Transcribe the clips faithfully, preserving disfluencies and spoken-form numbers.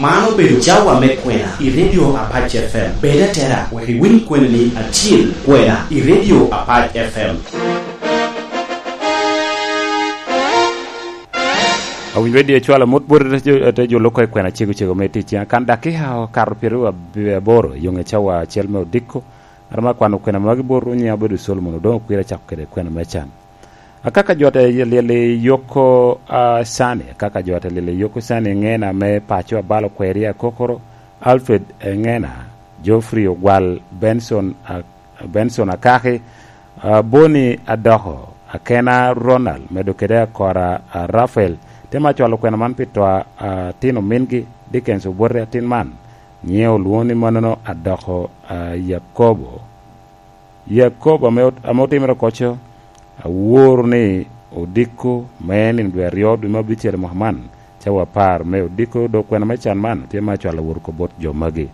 Man obedo cawa me kwena i Radio Apac F M. Bed atera wek iwiny kweni-ni acil, kwena i Radio Apac F M. Awinyo Radio cwalo mot bot te jo, te jo loko i kwena cego cego me tic. Kan dakika okato pyeraryo aboro i yoŋe cawa acel me odiko. Ŋat ame akwano kwena magi bot nyiŋe obedo Solomon Odongo Kwir, acako kede kwena me can. Akaka jo te lyel i yoko, a, sani, akaka jo te lyel i yoko sani, ŋena me paco abalo kweri akokoro, Alfred, e, ŋena, Geoffrey Ogwal, Benson, a, Benson Akaki, a, Boni Adoko, Akena Ronald, medo kede Akora, a, Rafael, te ma cwalo kwena man pi to a, a, tin omingi, Dickens Obote atin man, nyiŋe olwoŋo ni mannono Adoko, a, Yakobo. Yakobo ame ot-, ame otimere koco, aworo ni odiko me nino dwe aryo dwe me abicel i mwaka man, cawa apar me odiko, dok kwena me can man tye me acwalo wot oko bot jo magi.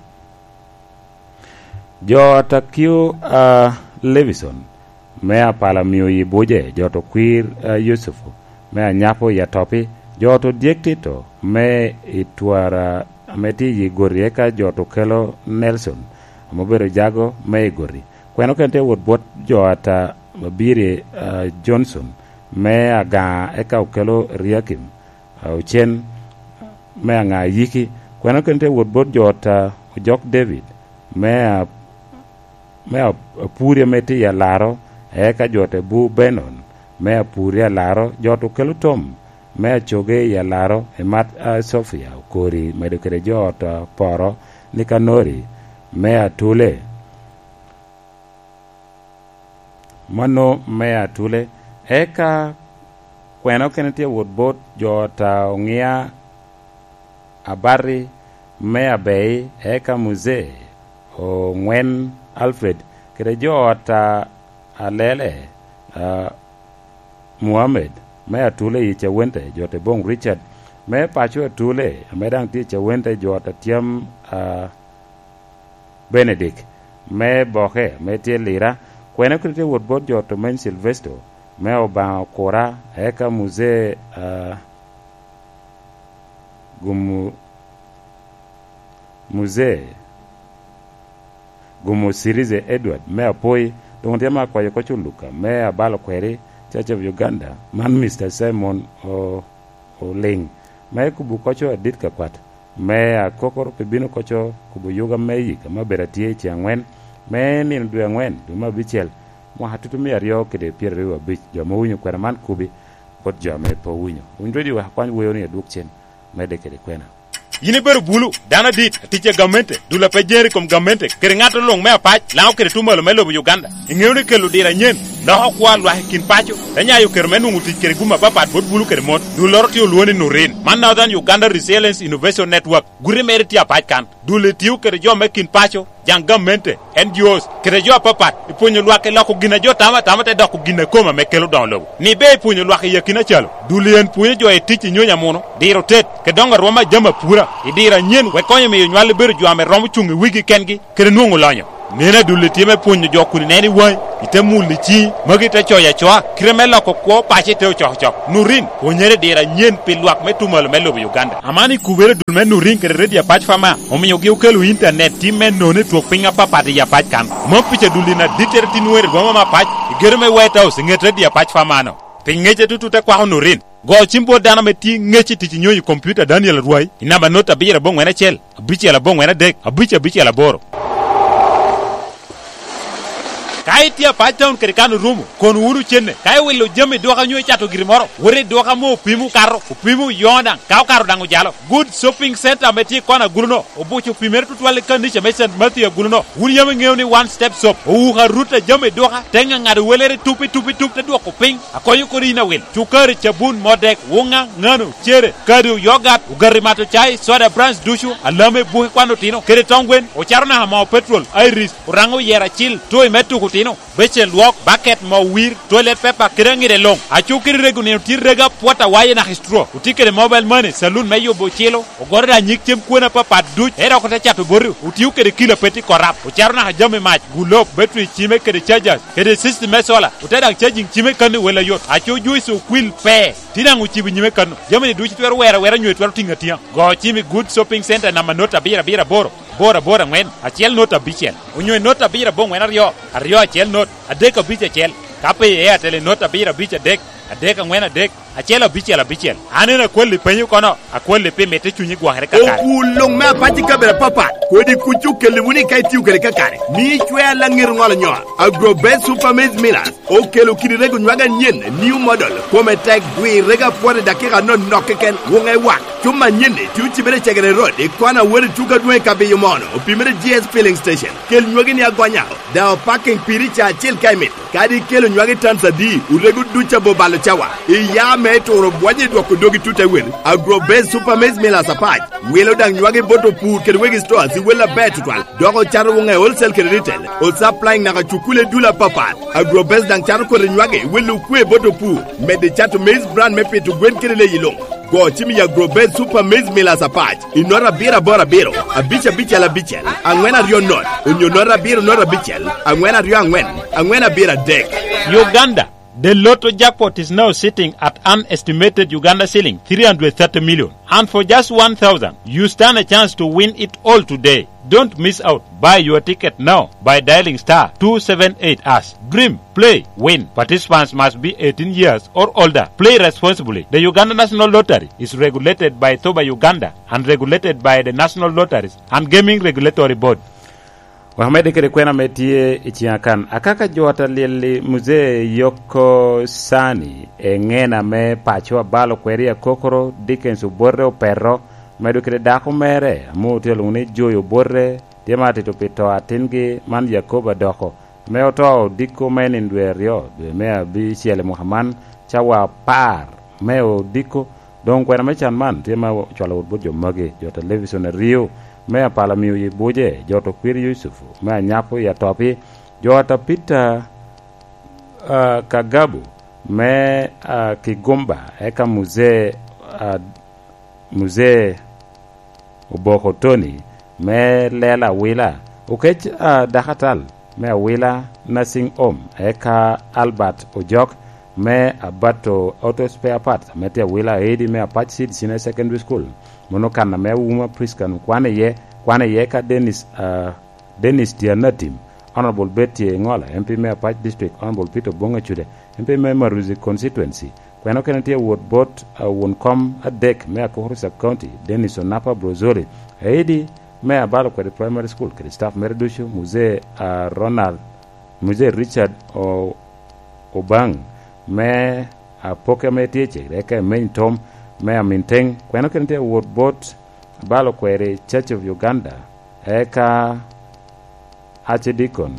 Jo Atakio, a, Levison, me apala mio i Buje, jo to kwir, a, Yucufu, me anyapo i Atopi, jo to dyek Tito, me i Twara, ame tye i Gori, eka jo to kelo Nelson, ame obedo jago me i Gori. Kwena okene tye wot bot jo ata Mabiri, a, Johnson, me Agaŋa, eka okelo Eliakim, a, Ocen, me Aŋa Ayiki. Kwena okene tye wot bot jo ata Ojok David, me a-, me a-, Apuri ame tye i Alaro, eka jo te Bu Benon, me Apuri Alaro, jo to kelo Tom, me Acoge i Alaro, i mat a Sofia Okori, medo kede jo ata Poro, Nikanori, me Atule. Mano me Atule. Eka kwena okene tye wot bot jo ta Oŋia Abati me Abei, eka Muzee Oŋwen Alfred, kede jo ta Alele, a, Muhammed me Atule i Cawente, jo te boŋ Richard me paco Atule, ame daŋ tye i Cawente, jo ta Tyam, a, Benedik, me Boke, me tye Lira, kwena kede tye wot bot jo Tomeny Silvesto, me Obaŋa Okura, eka Muzee, a, Gumu-, Muzee Gumu Sirize Edward, me Apoi, doŋ tye me akwayo koc Oluka, me Abalo Kweri, Church of Uganda, man Mister Simon O-, Oliŋ, me kubo koco adit ka kwat. Me akokoro pi bino koco kubo yuga me yik ame obedo atye i ce aŋwen, me nino dwe aŋwen, dwe me abicel, mwaka tutu mia aryo kede pyeraryo abic. Jo ame owinyo kwena man kubi, bot jo ame pe owinyo. Winy redio wek akwany weo ni adwog cen, medde kede kwena. Yin ibedo bulu, dano adit, atic a gamente, dul a pe jeri i kom gamente, kede ŋat luŋ me apac, laŋo kede tumalo me lobo Uganda. Iŋeo ni kelo diro anyen, loko kwo a lwak i kin paco, te nyayo kero me nwoŋo tic kede gum apapat bot bulu kede mon. Dulloro tye olwoŋo ni Nurin. Man Northern Uganda Resilience Innovation Network. Guti mere tye apac kan. Dul itio kede jo me kin paco, jaŋ gamente, N G Os, kede jo apapat, ipwonyo lwak i loko gin a jo tamo atama te doko gin a kome ame kelo doŋo lobo. Ni be ipwonyo lwak i akina calo. Dul en pwonyo jo i tic i nyonyo amuno, diro tet, kede doŋo arwom a jami apura, i diro anyen wek konyo miyo nywal ibedo jo ame romo cuŋ i wigi kengi, kede nwoŋo lonyo. Neno adulli tye me pwonyo jo kun ineno i waŋi, ite mulo i ciŋi, magi ite coyo acoa, kite me loko kwo paco ite ocokocok. Nurin, pwonyere i diro anyen pi lwak me tumalo me lobo Uganda. Aman ikubere dul me Nurin kede Radio Apac Fama, omiogi okelo intanet tim me nono i twok piny apapat i Apac kan. Mom pica dulli na dittere tin weri rwoma me apac, i gedo me White House i ŋet Radio Apac Fama-no. Pi ŋecce tutu te kwako Nurin. Go cim bot dano ame tye ŋec i tic i nyonyo i kompiuta Daniel Arwai i namba not abiro aboŋwen acel, abicel aboŋwen adek, abic abicel aboro. Ka itye Apac Town kede kan orumo, kon wunu cenne. Ka iwilo jami dwoka nyo icato giri moro, wot i dwoka ame opimo okato, opimo oyoŋo daŋ, ka okato daŋ ojalo. Good Shopping Center ame tye i kona agulu-no, obuco opimere tutwal i kanica me Saint Matthew agulu-no. Wun yam iŋeo ni One Step Soap owuko arut a jami dwoka, te ŋaŋado welere tup i tup i tup te dwoko piny. Akonyo kodi yin awil. Cukari, cabun, modek, wuŋa, ŋano, cere, kado, yogat, ogati mato cai, soda brands ducu, alame, buke kwan otino, kede tong gwen, ocato naka moo petrol, iris, oraŋo yer acil, toy me tuko Ino, becen lwok, baket mo wir, toilet paper, kede aŋide luŋ. Aco kede rego nino tye rego apwot awaye naka i straw. Otye kede mobile money, saloon me yubo ocilo, ogoro da nyig cem kwena apapat duc, ero oko te cato boti. Otio kede kilo a pe tye korap, ocato naka jami mac, gulop, battery cime kede chargers, kede system me solar, ote daŋ charging cime kan i wel ayot. Aco juice okwil pe, tye daŋ ocibo nyime kan. Jami-ni ducu twero wero awera nyo twero tiŋo atiŋa. Go cim i Good Shopping Center namba not abiro abiro aboro, aboro aboro aŋwen, acel not abicel, onyo i not abiro aboŋwen aryo, aryo acel not, adek abic acel, ka pe i Airtel i not abiro abic adek, adek aŋwen adek, acel abicel abicel. An en akwalli penyo kono, akwalli pi mitte cunyi gwokere kakare. Okul luŋ me apac i kabedo apapat, kodi kuc okelli wunu ka itio kede kakare. Mi icwer laŋet ŋolo nyol. Agro Best Super Maize Millers okelo kidi rego nywag anyen, new model, kome tek, gwir rego apwot i dakika anonok keken, wuŋe wak. Cuma anyen-ni tye ocibere i Cegere Road, i kona wot i tuko adwoŋ i Kabiyo Mono, opimere G S Filling Station. Kel nywagi ni agonya, daŋ opaking piri ca acel ka imito. Kadi ikelo nywagi tans adi, orego duc abo balo cawa. Iya me turo bwonyo i dwoko dogi tut ewel. Agro Best Super Maize Millers apac, wilo daŋ nywagi bot opur kede wegi stores i wel aber tutwal. Dok ocato wuŋe wholesale kede retail. Osupplying naka cukule dul apapat. Agrobest daŋ cato kodi nywagi, welo okwe bot opur. Medde cato maize bran me pito gwen kede leyi luŋ. Go cim i Agrobest Super Maize Millers apac, i nota abiro aboro abiro, abic abicel abicel, aŋwen aryo not, onyo nota abiro not abicel, aŋwen aryo aŋwen, aŋwen abiro adek. Uganda, the Lotto jackpot is now sitting at an estimated Uganda shilling three hundred thirty million. And for just one thousand, you stand a chance to win it all today. Don't miss out. Buy your ticket now by dialing star two seven eight hash. Dream, play, win. Participants must be eighteen years or older. Play responsibly. The Uganda National Lottery is regulated by thoba Uganda and regulated by the National Lotteries and Gaming Regulatory Board. Wek amedde kede kwena ame tye i ciŋa kan. Akaka jo a ta lyel i Muzee Yoko Sani, eŋena me paco abalo kweri akokoro, Dickens Obote Opeto, medo kede dako mere, ame otye lwoŋo ni Joy Obote, tye ma atito pi to atingi man Yakobo Adoko, ame oto odiko me nino dwe aryo, dwe me abicel i mwaka man, cawa apar me odiko. Doŋ kwena me can man tye me cwalo wot bot jo magi, jo a ta Levison Ario, me a Palamio i Buje, jo a ta Okwiri Yucufu, me a Nyapo i Atopi, jo a ta Peter, ah, Kagabu, me, ah, Kigumba, eka Muzee, ah, Muzee Oboko Tony, me Lela Awila, Okec, ah, Dakatal, me Awila Nursing Home, eka Albert Ojok, me Abato Auto Spare Parts, ame tye Awila, Aidi, me Apac Seed Senior Secondary School, mono kan ame Awuma Prisca kwan iye, kwan iye ka Dennis, ah, Dennis Tianatim, Honorable Betty Engola, M P me Apac District, Honorable Peter Obong Acude, M P me Maruzi Constituency, kwena okene tye wot bot, ah, won kom adek me Akokoro Sub County, Dennis Onapa Brozoli, Aidi me Abalo Kwede Primary School kede staff mere ducu, Muzee, ah, Ronald, Muzee Richard O-, Obang, me Apoke ame tye cegere, eka Emeny Tom me Aminteng, kwena okene tye wot bot Abalo Kwede Church of Uganda, eka Archdeacon.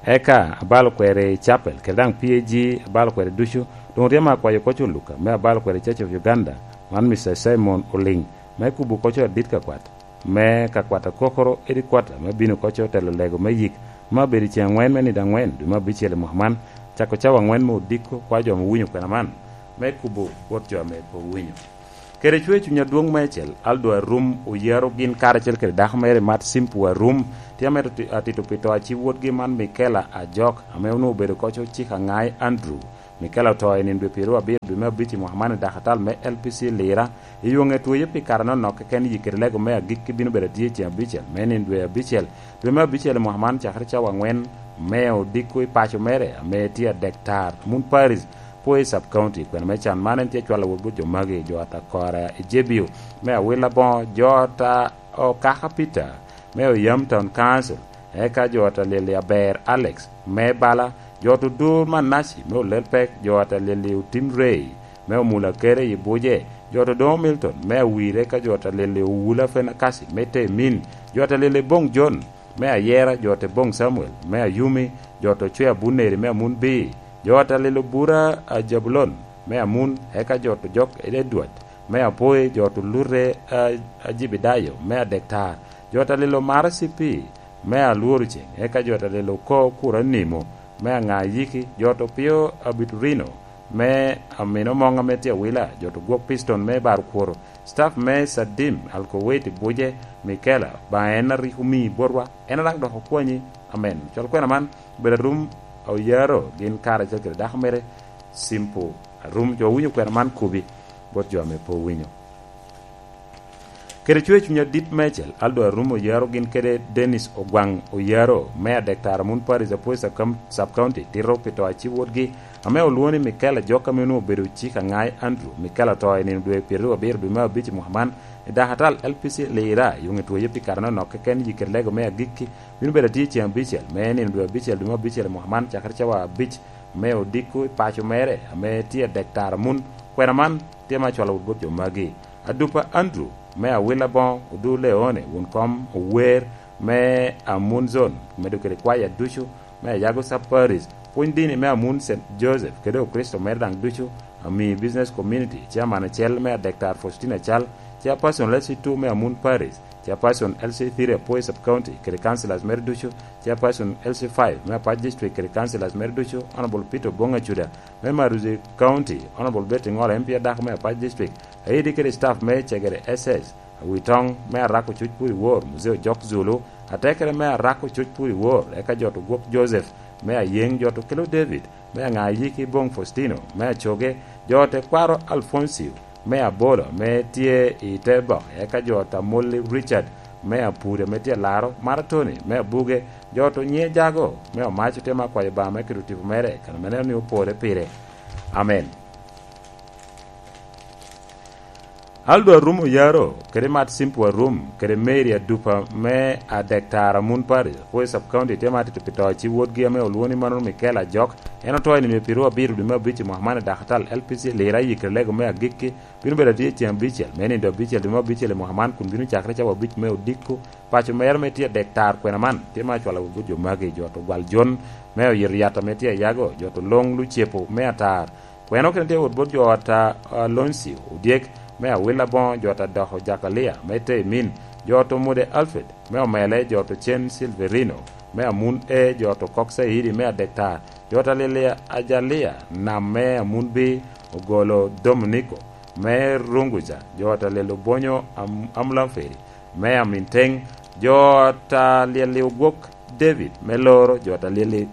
Eka abalo kwede i Chapel, kede daŋ P A G abalo kwede ducu. Doŋ otyema akwayo koc Oluka me abalo kwede Church of Uganda, man Mister Simon Oliŋ, me kubo koc adit ka kwat, me ka kwat akokoro, edi kwata, me bino koc otelo lego me yik, me abedo i ceŋ aŋwen me nino aŋwen, dwe me abicel i mwaka man, cako cawa aŋwen me odiko, kwa jo ame owinyo kwena man, me kubo bot jo ame pe owinyo. Kede cwer cuny adwoŋ meicel, Aldo Arum oyaro gin karacel kede dako mere Mat Simpu Arum, tye amito ti-, atito pi to a ci wotgi man Mikela Ajok, ame onwoŋo obedo koc ocik aŋai Andrew. Mikela oto i nino dwe pyeraryo abiro dwe me abic i mwaka man i dakatal me L P C Lira. I yoŋe tweyo pi kare anonok keken, yik kede lego me agikki bino bedo atye i ceŋ abicel me nino dwe abicel, dwe me abicel i mwaka man, cakere cawa aŋwen me odiko i paco mere ame tye adek tar, Mun Paris, Poi Sub County. Kwena me can man en tye cwalo wot bot jo magi, jo ata Kora i Jebio, me Awila Boŋo, jo ata Okaka Peter, me Oyam Town Council, eka jo ata Lili Aber Alex, me Bala, jo ata Odur Manaci, me Olelpek, jo ata Lili Otim Rei, me Omula Kere i Buje, jo ata Odoŋo Milton, me Awire, eka jo ata Lili Owula Fenakasi, me Temin, jo ata Lili Boŋ John, me Ayera, jo ata Boŋ Samuel, me Ayumi, jo ata Ocwea Buneri, me Amun Bii, jo ata Lili Obura a Jabulon, me Amun, eka jo ata Jok Edward, me Apoi, jo ata Olute a, a Jibidayo, me Adektar, Jo ta lelo Mara C P me Alworo Ceng, eka jo ta lelo Ko Kura Nimo me Aŋa Yiki, jo to Pio Abiturino me Amino Moŋ ame tye Awila, jo to Gwok Piston me Bar Kwoto, staff me Sadim Alkoweti Buje Mikela, ba en a rik omi botwa, en a daŋ dok okwanyi. Amen. Col kwena man obedo arum oyaro gin kare acel kede dako mere Simpo Arum. Jo owinyo kwena man kubi bot jo ame pe owinyo. Kede cwer cuny adit meicel, Aldo Arum Oyaro gin kede Dennis Ogwaŋ Oyaro me Adek Tara Mun Parish, Apoy Sub-, Sub-County, tito pi to a ci wotgi ame olwoŋo ni Michael Ajok, ame onwoŋo obedo cik Aŋai Andrew. Michael oto i nino dwe pyeraryo abiro dwe me abic i mwaka man i dak atal L P C Lira, i Oŋetwoye pi kare anonok keken. Yikere lego me agikki bino bedo atye ceŋ abicel me nino dwe abicel dwe me abicel i mwaka man, cakere cawa abic me odiko i paco mere ame tye Adek Tara Mun. Kwena man tye me acwalo wot bot jo magi. Adupa Andrew me Awila Boŋo, Odur Leone, wun kom ower me Amun Zone, medo kede kwaya ducu me Ayago Sub Parish, pwony dini me Amun Saint Joseph, kede Okricito mere daŋ ducu, ami Business Community, Chairman acel me Adek Tara Faustina Cal, Chairperson L C two me Amun Parish, Chairperson L C three Apoy Sub County, kede councillors mere ducu, Chairperson L C five me Apac District, kede councillors mere ducu, Honorable Peter Obong Acuda, me Maruzi County, Honorable Betty Ŋolo, M P adako me Apac District, Aidi kede staff me Cegere S S, Awitoŋ me Arako Cuc Puri Wor, Muzee Ojok Zulu, atekere me Arako Cuc Puri Wor, eka jo to Gwok Joseph me Ayeŋ, jo to Kelo David me Aŋa Ayiki, Boŋ Faustino me Acoge, jo te Kwaro Alfoncio me Abolo ame tye i te boke, eka jo ta Molli Richard me Apuri ame tye Laro, Maratoni me Abuge, jo to Nyiye Jago me Omaco, te ma kwayo Obaŋa me keto tipo mere, kan ame neno ni opore pire. Amen. Aldo Arum Oyaro, kede Mat Simpo Arum, kede Mary Adupa me Adek Tara Mun Parish, Apoy Sub County, tye ma atito pi to a ci wotgi ame olwoŋo ni mano Michael Ajok. En oto i nino pyeraryo abiro dwe me abic i mwaka man i dak atal L P C Lira, yikere lego me agikki bino bedo atye ceŋ abicel me nino abicel dwe me abicel i mwaka man, kun bino cakere cawa abic me odiko. Paco mere ame tye Adek Tara kwena man tye ma acwalo wot bot jo magi, jo to Gwal Jon me Oyito Yat ame tye Ayago, jo to Loŋ Lucepo me Atar, Kwena okene tye wot bot jo ot a Aloncio Odyek me Awila Boŋo, jo ot a Doko Jakalia me Temin, jo ot Omude Alfred me Omele, jo ot Ocen Silverino me Amun E, jo ot Okok Caidi me Adek Tara, jo ot a Lilia Ajalia Nam me Amun B, Ogolo Dominico me Runguja, jo ot a Lelo Bonyo Am-, Amulamferi me Amin Teŋ, jo ot a Lieli Ogwok David me Loro, jo ot a Lieli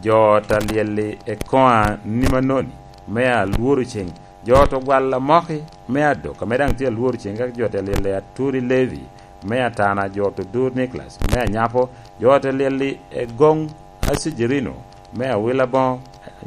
jo ot a Lyelli Ekoa Nimanoni me Alworo Ceng, jo ot Ogwal Amoki me Adok ame daŋ tye Alworo Ceng, ka jo ot a Lyelli Aturi Levi me Atana, jo ot Odur Nicholas me Anyapo, jo ot a Lyelli Egoŋ Acijirino me Awila Boŋo,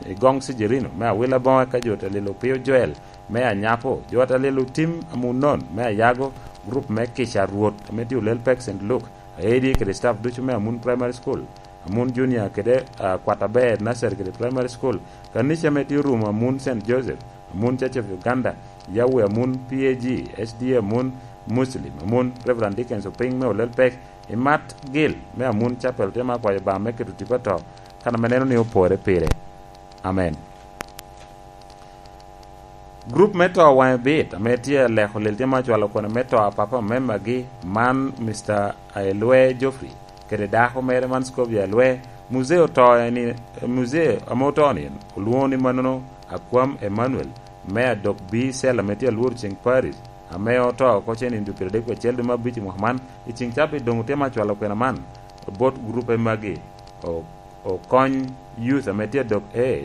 Egoŋ Cijirino me Awila Boŋo, eka jo ot a Lyelli Opio Joel me Anyapo, jo ot a Lyelli Otim Amunon me Ayago, gurup me Kica Rwot ame tye Olel Pek Saint Luke, Aedi kede staff ducu me Amun Primary School, Amun Junior kede, ah, Kwat Aber Nursery kede Primary School, kanica ame tye orumo Amun Saint Joseph, Amun Church of Uganda, Yahweh Amun P A G, S D A Amun Muslim, Amun Reverend Dickens Opiny me Olel Pek, Imat Gil me Amun Chapel, tye ma akwayo Obaŋa me keto tipo ato, kan ame neno ni opore pire. Amen. Gurup me to waŋe bit ame tye aleko lel tye ma ocwalo kwena me to a papa me magi man, Mister Aelwe Geoffrey, kede dako mere man Scovia Aelwe. Muzee oto eni, muzee ame oto ni olwoŋo ni manono Akwam Emmanuel me Adok B Cell ame tye Alwor Ceng Parish, ame oto oko cen i nino pyeradek wie acel dwe me abic i mwaka man. I ceŋ cabit doŋ otye ma ocwalo kwena man bot gurupe magi. O-, Okony Youth ame tye Adok A,